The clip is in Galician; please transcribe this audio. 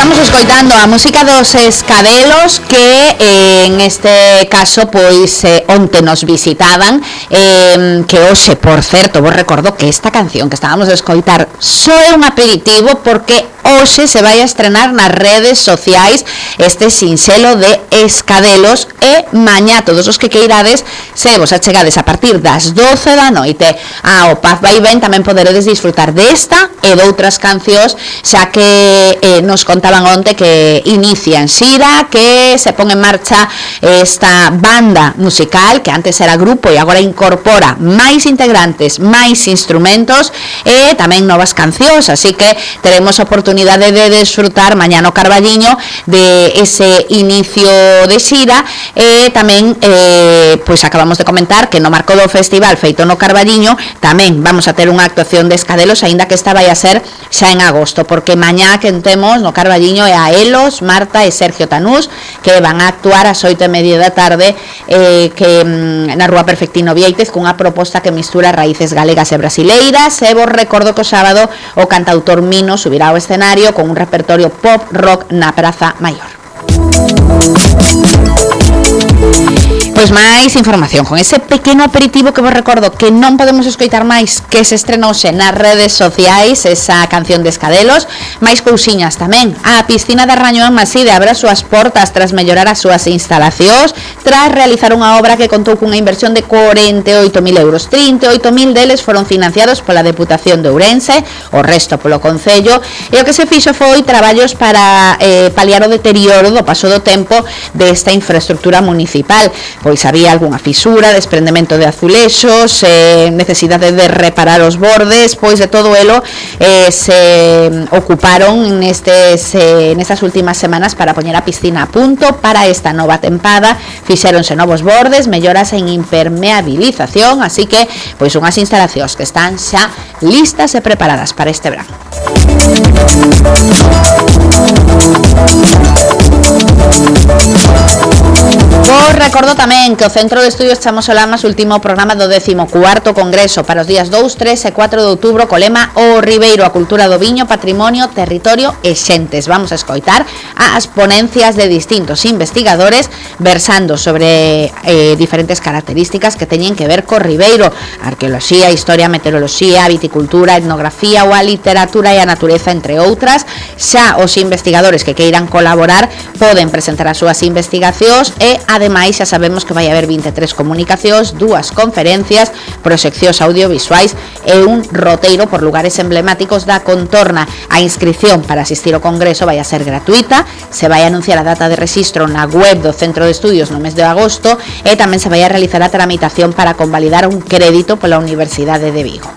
Estamos escoitando a música dos Escadelos que en este caso pois onte nos visitaban que hoxe, por certo, vos recordo que esta canción que estábamos a escoitar só é un aperitivo porque hoxe se vai a estrenar nas redes sociais este sinxelo de Escadelos e mañá todos os que queirades se vos achegades a partir das 12 da noite ao Paz Vai Ben tamén poderedes disfrutar desta e doutras cancións xa que nos contaban onte que inician xira, que se pon en marcha esta banda musical que antes era grupo e agora incorpora máis integrantes, máis instrumentos e tamén novas cancións, así que teremos oportunidade de desfrutar mañá no Carballiño de ese inicio de xira e tamén pois acabamos de comentar que no marco do festival feito no Carballiño tamén vamos a ter unha actuación de Escadelos, aínda que esta vai a ser xa en agosto, porque mañá que temos no Carballiño é a Elos, Marta e Sergio Tanús que van a actuar ás 8:30 da tarde na Rúa Perfectino Viéitez cunha proposta que mistura raíces galegas e brasileiras e vos recordo que o sábado o cantautor Mino subirá ao escenario con un repertorio pop rock na Praza Maior. Pois máis información con ese pequeno aperitivo que vos recordo que non podemos escoitar máis que se estrenouse nas redes sociais esa canción de Escadelos, máis cousiñas tamén. A piscina de Rañoán Maside abre as súas portas tras mellorar as súas instalacións, tras realizar unha obra que contou cunha inversión de 48.000 euros. 38.000 deles foron financiados pola Deputación de Ourense, o resto polo Concello, e o que se fixo foi traballos para paliar o deterioro do paso do tempo desta infraestructura municipal. Pois había algunha fisura, desprendemento de azulexos, necesidade de reparar os bordes, pois de todo elo se ocuparon nestas últimas semanas para poñer a piscina a punto para esta nova tempada. Fixéronse novos bordes, melloras en impermeabilización, así que pois unhas instalacións que están xa listas e preparadas para este verán. Vos recordo tamén que o Centro de Estudios Chamos Olamas último programa do 14º Congreso para os días 2, 3 e 4 de outubro co lema O Ribeiro, a cultura do viño, patrimonio, territorio e xentes. Vamos a escoitar as ponencias de distintos investigadores versando sobre diferentes características que teñen que ver co Ribeiro, arqueoloxía, historia, meteoroloxía, viticultura, etnografía ou a literatura e a natureza, entre outras. Xa os investigadores que queiran colaborar poden presentar as súas investigacións e ademais xa sabemos que vai haber 23 comunicacións, 2 conferencias, proxeccións audiovisuais e un roteiro por lugares emblemáticos da contorna. A inscripción para asistir ao congreso vai a ser gratuita, se vai a anunciar a data de rexistro na web do Centro de Estudios no mes de agosto e tamén se vai a realizar a tramitación para convalidar un crédito pola Universidade de Vigo.